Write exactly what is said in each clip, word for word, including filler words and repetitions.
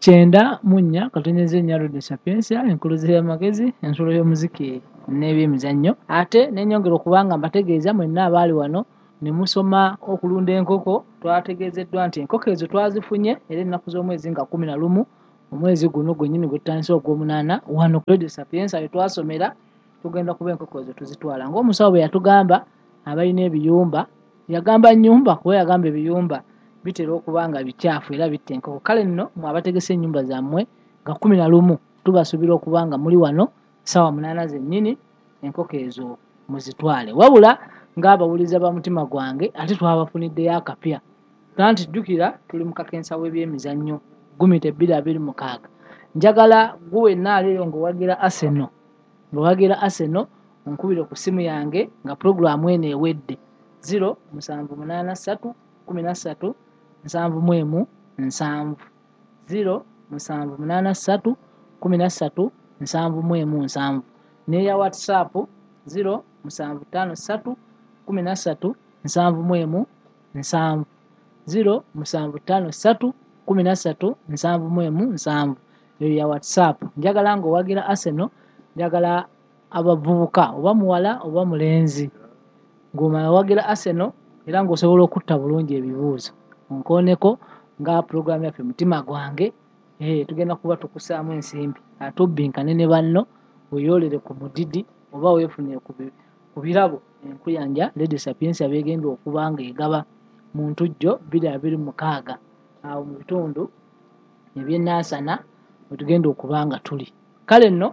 Kyenda mu nnya katonnyeze nnya Radio Sapientia, enkuluze y'amagezi, ensulo y'omuziki n'ebyemizannyo. Ate ne nnyongera okuba nga mbategeeza mwenna abaali wano ne musoma okulunda enkoko. Twategeezeddwa nti enkoko ezo twazifunye era ennaku z'omwezi nga kkumi na lumu omwezi guno gwennyini gwe tutandise ogw'omunaana, wano ku Radio Sapientia we twasomera. Tugenda kuba enkoko ezo tuzitwala ng'omusawo bwe yatugamba. Abalina ebiyumba, yagamba nnyumba kuba yagamba ebiyumba bitera okuba nga bikyafu era bitta enkoko. Kale nno mwe abategese ennyumba zammwe, nga kkumi na lumu tubasuubira okuba nga muli wano ssaawa munaana zennyini, enkoko ezo muzitwale. Wabula ng'abawuliza ba Mutima Gwange, ate twabafuniddeyo akapya. Anti jjukira tuli mu kakensa w'ebyemizannyo gumita bbiri abiri mukaaga. Njagala gwe wenna aliyo ng'owagira Arsenal, ng'owagira Arsenal, onkubire ku ssimu yange nga puroguramu eno ewedde: zero musanvu munaana ssatu kumi na ssatu nsanvu mu emu nsanvu, zero musanvu munaana ssatu kumi na ssatu nsanvu mu emu nsanvu, n'eya WhatsApp zero musanvu ttaano ssatu kumi na ssatu nsanvu mu emu nsanvu, zero musanvu ttaano ssatu kumi na ssatu nsanvu mu emu nsanvu, eyo ya WhatsApp. Njagala ng'owagira Arsenal, njagala abavubuka, oba muwala oba mulenzi, ng'omala owagira Arsenal era ng'osobola okutta bulungi ebibuuzo, onkooneko nga puroguramu yaffe Mutima Gwange. eh, tugenda kuba tukusaamu ensimbi ate obbinkane ne banno, weyoolere ku mudidi oba weefunire ku bi- ku birabo enkuyanja Radio Sapientia begenda okuba nga egaba mu ntujjo bbiri abiri mukaaga awo mu bitundu ebyenansana wetugenda okuba nga tuli. Kale nno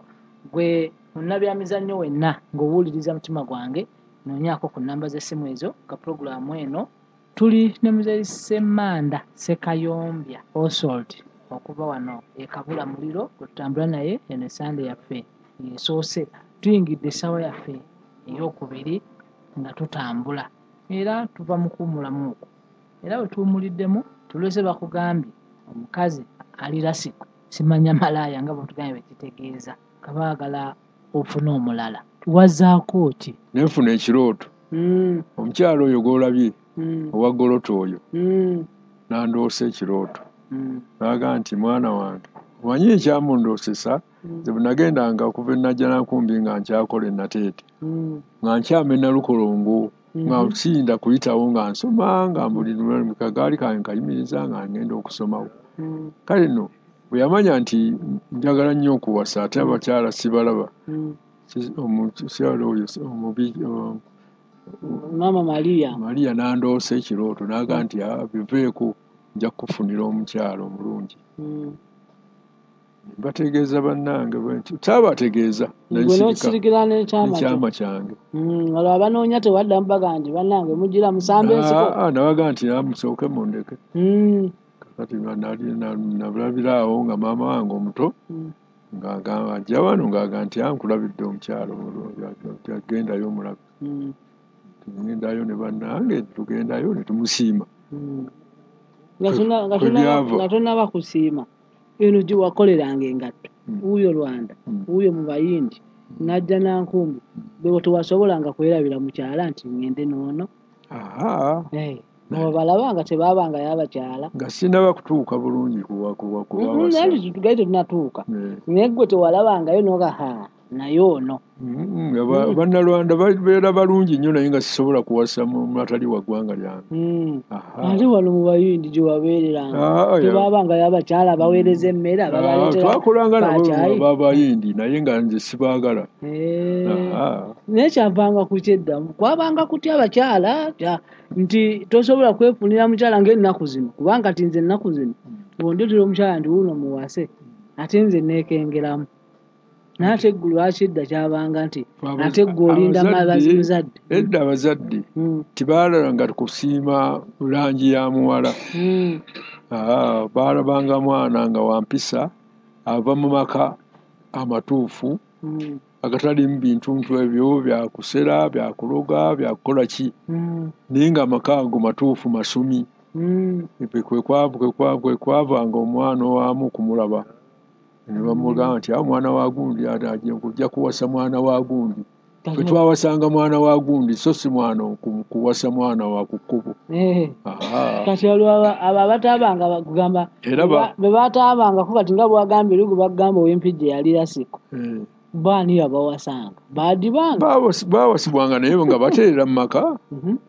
gwe munnabyamizannyo wenna ng'owuliriza Mutima Gwange, noonyaako ku nnamba z'essimu ezo nga puroguramu eno. Tuli ne Muzeeyi Ssemanda Sekayombya Oswald okuva wano e Kabula Muliro gwe tutambula naye. Eno esande yaffe esoose, tuyingidde essaawa yaffe eyokubiri nga tutambula era tuva mu kuwummulamu okwo, era bwe tuwummuliddemu tulese bakugambye omukazi ali lasiku, simanya malaaya nga bwetugambye bwe kitegeeza, nga baagala ofune omulala. Wazaako ki? Nenfuna ekirooto. Mm, omukyalo oyo gw'olabye, mm, owa goloto oyo, mm, nandoosa ekirooto, mm, n'agamba nti, "Mwana wange, omanyi ekyamundoosesa? mm, Nze bwe nagendanga okuva e Najjanankumbi nga nkyakola e Nateete, mm, nga nkyama e Nalukolongo, nga mhm, siyinda kuyitawo, nga nsoma, nga buli kagaali kange nkayimiriza nga ngenda okusomawo. mm, Kale nno bwe yamanya nti njagala nnyo okuwasa, ate abakyala sibalaba, mm. si- omukyala oyo omubi, o- Maama Maria. Maria, n'andoosa ekirooto n'agamba nti, 'Ah, biveeko, nja kukufunira omukyala omulungi.' Mm. Mbategeeza bannange bwe nti saabategeeza, Gwe nensirika n'okisirikira n'ekyama kyo. N'ekyama kyange. Mm, olwo abanoonya tewaddamu baga nti, 'Bannange, mugira musamba ensiko'? Ah, ah, nabaga nti, 'Ah, musooke mundeke.' Mm, Kakati nga nali na- nalabira awo nga maama wange omuto mm, ng'agamba ajja wano ng'aga nti, 'Ah, nkulabidde omukyala omulungi, agendayo omulabe.' mm, Tugendayo ne bannange, tugendayo ne tumusiima. mm. Nga Kwe- tonna- nga kwe tonnaba byava. Nga tonnaba kusiima, eno gye wakoleranga engatto, Mm. wuuyo Rwanda, Mm. wuuyo mu Bayindi, najja Nankumbi, bwe tewasobolanga kwerabira mukyala nti ŋŋende n'ono? Aha. Eh, obalaba nga tebaabangayo abakyala. Nga sinnaba kutuuka bulungi kuwa kuwa Mm, kuwawasa. Naye tugali tetunatuuka. Eh. Naye gwe tewalabangayo noga, ha, naye ono? Mm, nga ba- Bannalwanda babeera balungi nnyo, naye nga sisobola kuwasa mu atali wa ggwanga lyange. Mm. Aha. Ate wano mu Bayindi gye wabeereranga, Ah, ya. tebaabangayo abakyala abaweereza emmere, Ah, ababaleetera twakolanga nabo kacaayi? B'Abayindi, naye nga nze sibaagala. Eh. Aha. Naye kyavanga ku kyedda kwabanga kutya abakyala kya- nti tosobola kwefunira mukyala ng'ennaku zino, kubanga ti nze ennaku zino bw'ondeetera omukyala nti wuuno muwase, ate nze neekengeramu. Naye ate eggulu lwaki edda kyabanga nti Abaza- ate ggwe olinda abazadde- muzadde? Edda abazadde Mm, tebaalalanga kusiima langi ya muwala. mm, Ah, baalabanga mwana nga wampisa, ava mu maka amatuufu, mm, agatalimu bintuntu ebyo byakusera, byakuloga, byakukola ki, mm, naye nga amaka ago matuufu, masumi. mm. Kwe kwa- kwe kwa- kwe kwavanga omwana owamu kumulaba ne bamugamba nti, 'Awo mwana wa gundi, ate ajja kujja kuwasa mwana wa gundi.' Ffe twawasanga mwana wa gundi, so si mwana kuwasa mwana wa ku kkubo. Kati olwo abo abataabanga kugamba bwe bataabanga kuba ti nga bw'agambye eri gwe bagamba ow'Empijja eyali Lasiko. Baani abawasanga? Baadibanga? Baawasibwanga naye nga bateerera mu maka,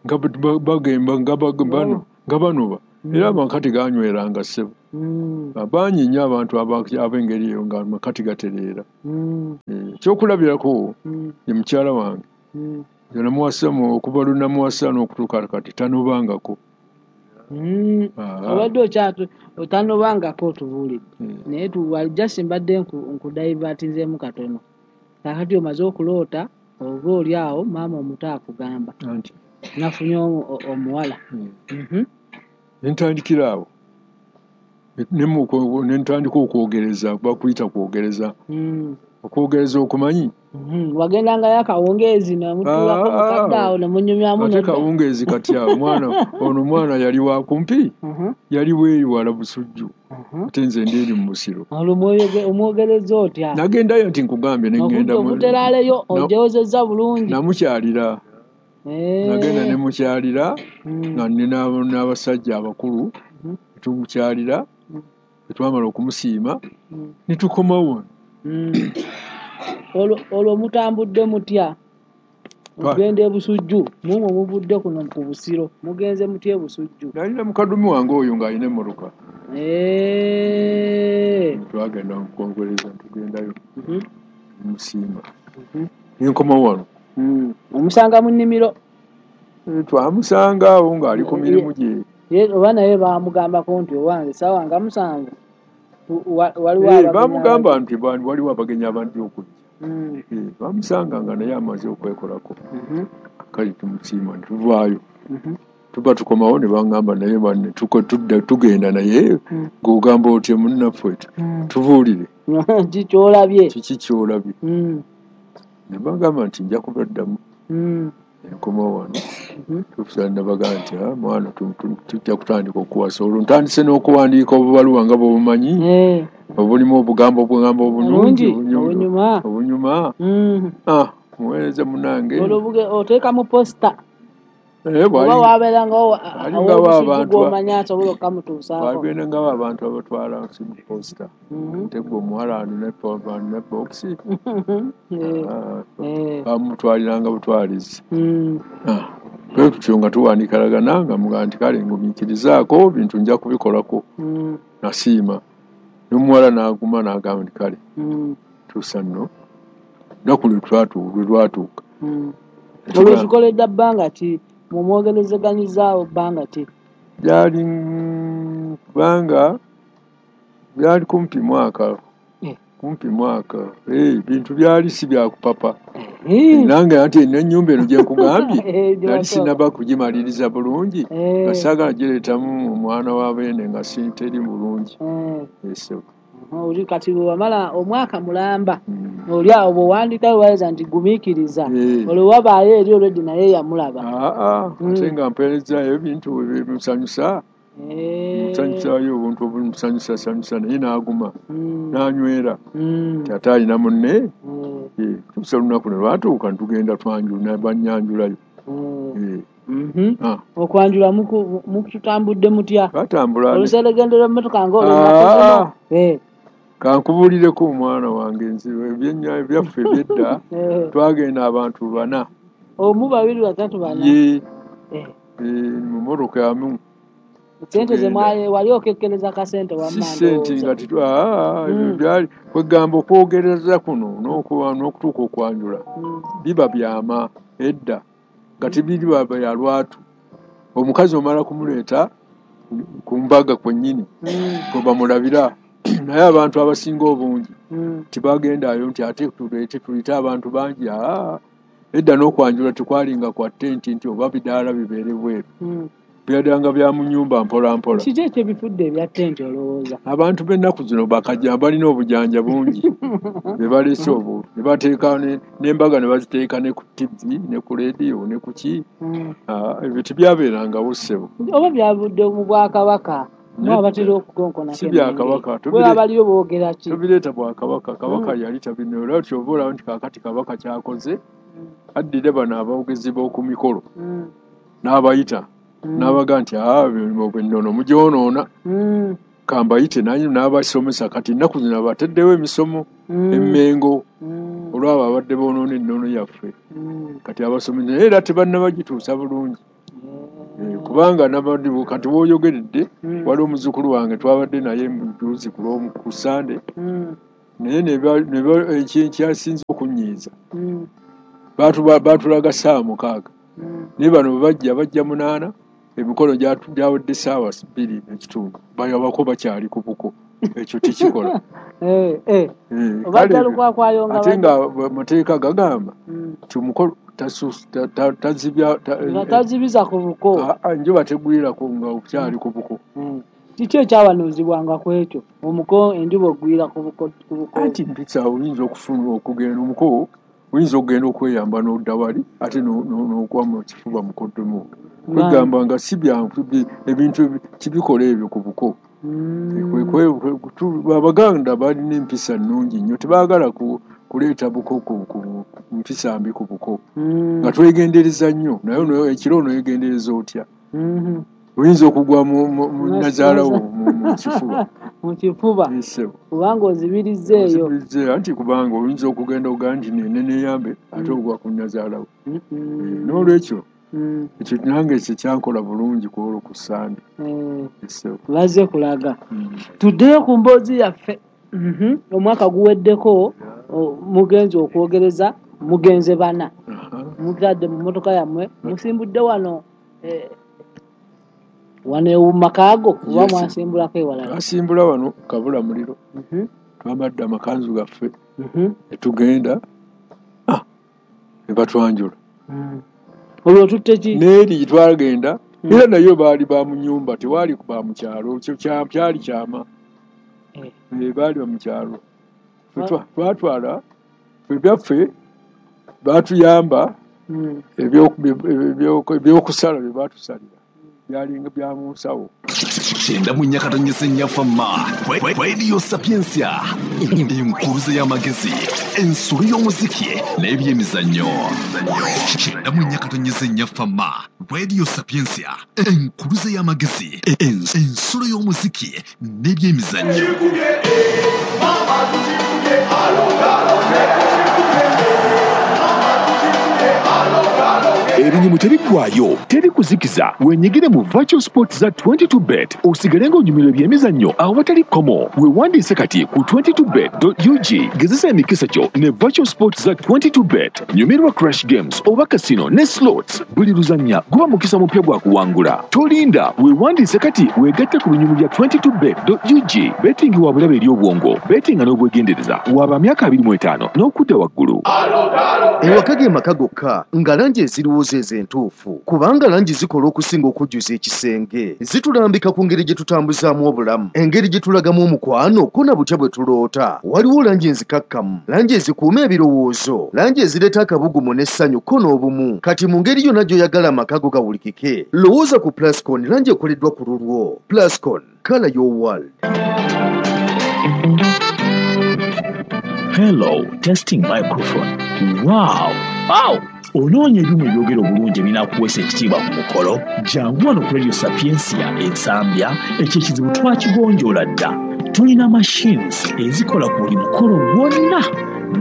nga bagemba nga banoba. Era amaka teganyweranga ssebo. Bangi nnyo abantu ab'engeri eyo nga amaka tegatereera. Ekyokulabirako ye mukyala wange. Nze namuwasa okuva lwe namuwasa n'okutuuka kati tanobangako. Obadde otanobangako otubuulidde. Naye just mbadde nkudivertinzeemu katono. Kaakati omaze okuloota oba oli awo maama omuto akugamba. Nafunye omuwala. Ne ntandikira awo. Ne ntandika okwogereza, bakuyita kwogereza. Okwogereza okumanyi? Wagendangayo akawungeezi ne mutuulako mukadde awo ne munyumyamu. Ate kawungeezi kati awo mwana ono mwana yali wa kumpi, yali bweri wala Busujju. Ate nze ndi eri mu Busiro. Olwo omwogereza otya? Nagendayo nti nkugambye ne ŋŋenda. Okuteraaleyo ogyozezza bulungi. Namukyalira. Nagenda ne mukyalira nga nina n'abasajja abakulu tumukyalira twamala okumusiima ne tukomawo. Olwo mutambudde mutya? Ogenda e Busujju, mumwe muvudde kuno ku Busiro, mugenze mutya e Busujju? Nalina mukadumi wange oyo ng'alina emmotoka. Twagenda okwogereza tugendayo musiima. Ne nkomawo wano. Omusanga mu nnimiro? Twamusanga awo ng'ali ku mirimu gye. Oba naye baamugambako nti owange ssaawa nga musanvu waliwo abagenyi. Baamugamba nti waliwo abagenyi abandi okujja. Bamusanga nga naye amaze okwekolako. Kale tumusiima ne tuvaayo. Tuba tukomawo ne baŋŋamba naye banne tugenda naye ng'ogamba otya munnaffe tubuulire. Kiki ky'olabye? Kiki ky'olabye? Ne bagamba nti nja kubaddamu. Nkomawo wano. Tufusa nabagamba nti mwana tujja kutandika okuwasa. Olwo ntandise n'okuwandiika obubaluwa nga bw'obumanyi. Obulimu obugambo obugambo obulungi obunyuma. Obunyuma. Muweereza munnange. Olwo oteekamu posita. Oba wabeerangawo aw'Obusujju gw'omanyi asobola okukamutuusaako. Wabeerangawo abantu abatwala mu posita. Ate gwe omuwala ano ne bookisi. Bamutwaliranga butwalizi. Bwe tutyo nga tuwandiikalagana nga mugamba nti kale ngumiikirizaako bintu nja kubikolako. Nasiima. N'omuwala n'aguma n'agamba nti kale tuusa nno. Lunaku lwe lwatuuka. Olwo kikoledde bbanga ki? Mumwogerezeganyizaawo bbanga ki? Byali kubanga byali kumpi mwaka. Kumpi mwaka. Bintu byali si bya kupapa. Nange ate n'ennyumba eno gye nkugambye nali sinnaba kugimaliriza bulungi nga saagala gireetamu omwana wa beene nga si teri bulungi. Oli kati bwe wamala omwaka mulamba oli awo bw'owandiikayo waleza nti gumiikiriza olwo wabaayo eri olweddi naye yamulaba. Ate nga mpeerezaayo ebintu bimusanyusa musanyusaayo obuntu obumusanyusasanyusa naye n'aguma n'anywera nti ate alina munne. Tuusa olunaku ne lwatuuka ne tugenda twanjula bannyanjulayo. Okwanjula mukutambudde mutya? Twatambula. Oluseregende lw'emmotoka ng'olwo. Kankubuulireko omwana wange nze ebyaffe eby'edda twagenda abantu bana. Omu, babiri, basatu, bana. Ye mu mmotoka emu. Ssente ze wali okekkereza kasente wamma. Si ssente nga byali kwegamba okwogereza kuno n'okutuuka okwanjula biba byama edda nga tebiriba bya lwatu. Omukazi omala kumuleeta ku mbaga kwennyini kwe bamulabira. Naye abantu abasinga obungi tibagendayo nti ate tuleete tuyite abantu bangi. Edda n'okwanjula tekwalinga kwa ttenti nti oba bidaala bibeere bweru. Byaddanga bya mu nnyumba mpola mpola. Kiki ekyo ebifudde ebya ttenti olowooza? Abantu b'ennaku zino bakajja balina obujanja bungi be baleese obwo ne bateeka n'embaga ne baziteeka ne ku T V ne ku leediyo ne ku ki. Ebyo tebyabeerangawo ssebo. Oba byavudde mu Bwakabaka? Abatera okukonkonako Si bya Kabaka. Bwe abaliyo boogera ki? Tobireeta Bwakabaka. Kabaka yali tabino era ky'ova olaba nti kaakati Kabaka ky'akoze Addira bano aboogezi b'oku mikolo n'abayita n'abaga nti ennono mugyonoona, kambayite n'abasomesa. Kati ennaku zino abataddewo emisomo emmengo olw'abo abadde boonoona ennono yaffe. Kati abasomesa naye era tebannabagituusa bulungi, kubanga kati w'oyogeredde waliwo omuzzukulu wange twabadde naye mujuzi ku Ssande, naye ekyasinze okunyiiza baatulaga ssaawa mukaaga, naye bano bwe bajja bajja munaana, emikolo gyawedde ssaawa bbiri n'ekitundu, bayabako bakyali ku buko. Ekyo tekikola. Ate nga amateeka gagamba nti omukolo tazibiza ku buko, enjuba tegwirako nga okyali ku buko. Kiki ekyawanuuzibwanga ku ekyo omuko enjuba ogwira ku buko? Anti mpisa oyinza okufuna okugenda omuko, oyinza okugenda okweyamba n'odda wali ate n'ogwa mu kifuba mukoddomu. Kwegamba nga si byangu ebintu kibikola ebyo ku buko. Abaganda balina empisa nnungi nnyo, tebaagala kuleeta buko ku mpisa mbi ku buko, nga twegendereza nnyo. Naye ekiro onoyegendereza otya? Oyinza okugwa mu nnazaalawo mu kifuba, mu kifuba kubanga ozibirizza eyo. Anti kubanga oyinza okugenda ogaa nti neneyambe ate ogwa ku nnazaalawo. N'olwekyo ekyo nange ekyo kyankola bulungi ku olwo ku Ssande. Bazze kulaga. Tuddeyo ku mboozi yaffe. Omwaka guweddeko, mugenze okwogereza, mugenze bana, mutadde mu mmotoka yammwe, musimbudde wano wano emakaago oba mwasimbulako ewalala? Twasimbula wano Kabula Muliro, twambadde amakanzu gaffe ne tugenda ne batwanjula. Olwo tutte ki? N'eri twagenda era nayo baali ba mu nnyumba, tewaali ba mu kyalo, kyali kyama, baali ba mu kyalo. Twatwala ebyaffe, baatuyamba ebyokusala bye baatusalira byalinga bya mu nsawo. Kyenda mu nnya katonyeze nnyaffe ma Radio Sapientia, enkuruze y'amagezi, ensolo y'omuziki n'ebyemizannyo. Kyenda mu nnya katonyeze nnyaffe ma Radio Sapientia, enkuruze y'amagezi, ensolo y'omuziki n'ebyemizannyo. Ebinyumu tebiggwayo, teri kuzikiza. Wenyigire mu virtual sports za twenty-two bet osigale ng'onyumirwa ebyemizannyo awatali kkomo. Weewandiise kati ku twenty-two bet dot U G. Gezesa emikisa gyo ne virtual sports za twenty-two bet. Nyumirwa crash games oba casino ne slots. Buli luzannya guba mukisa mupya gwa kuwangula. Tolinda, weewandiise kati weegatte ku binyumu bya twenty-two bet dot U G. Betting wa bulabe eri obwongo, bettinga n'obwegendereza. Waba myaka abiri mu etaano n'okudda waggulu. Ewaka ge maka gokka nga langi eziriwo ze entuufu, kubanga langi zikola okusinga okujjuza ekisenge. Zitulambika ku ngeri gye tutambuzaamu obulamu, engeri gye tulagamu omukwano ko na butya bwe tuloota. Waliwo langi enzikakkamu, langi ezikuuma ebirowoozo, langi ezireeta akabugumu n'essanyu ko n'obumu. Kati mu ngeri yonna gy'oyagala amaka go gawulikike, lowooza ku Plascon, langi ekoleddwa ku lulwo. Plascon, color your world. Hello, testing microphone. Wow! Wow! Onoonya ebyuma ebyogera obulungi ebinaakuweesa ekitiibwa ku mukolo? Jangu wano ku Radio Sapientia Ensambya, ekyo ekizibu twakigonjoola dda. Tulina machines ezikola ku buli mukolo gwonna: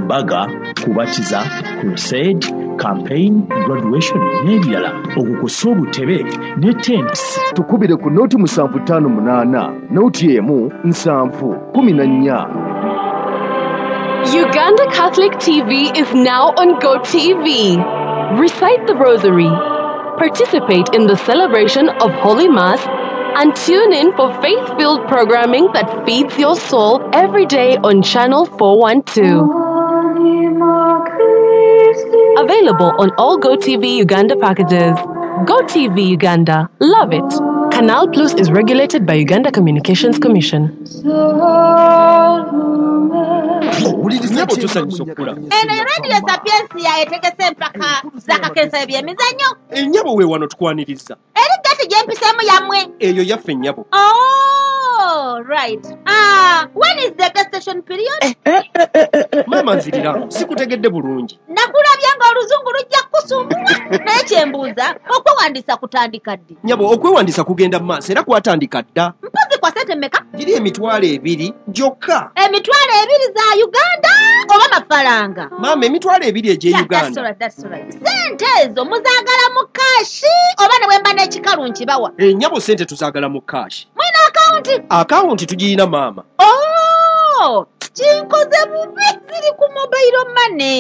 mbaga, kubatiza, crusade, campaign, graduation n'ebirala, okukosa obutebe ne tents. Tukubire ku noti musanvu ttaano munaana, noti emu nsanvu kumi na nnya. Uganda Catholic T V is now on GoTV. Recite the Rosary, participate in the celebration of Holy Mass, and tune in for faith-filled programming that feeds your soul every day on Channel four one two. Available on all GoTV Uganda packages. GoTV Uganda. Love it. Canal Plus is regulated by Uganda Communications Commission. Eno Radio Sapientia etegese empaka z'akakensa ebyemizannyo. Ennyabo we wano tukwaniriza. Eri gati gy'empiseemu yammwe. Eyo yaffe nnyabo. Oh, right. Ah, when is the gestation period? Eh, eh, eh, eh, eh. Maama nzirira, sikutegedde bulungi. Nakulabye Oluzungu lujja kukusumbuwa. Naye kyembuuza, okwewandiisa kutandika ddi? Nnyabo, okwewandiisa kugenda mu maaso era kwatandika dda. Mpozi kwa ssente mmeka? Giri emitwalo ebiri gyokka. Emitwalo ebiri za Uganda oba mafaranga? Maama, emitwalo ebiri egy'e Yeah, that's Uganda. all right, that's all right. Ssente ezo muzaagala mu cash oba ne bwe mba n'ekikalu nkibawa? Ennyabo, ssente tuzaagala mu cash. Mulina akawunti? Akawunti tugiyina, maama. Oh, kinkoze bubi, ziri ku mobile money.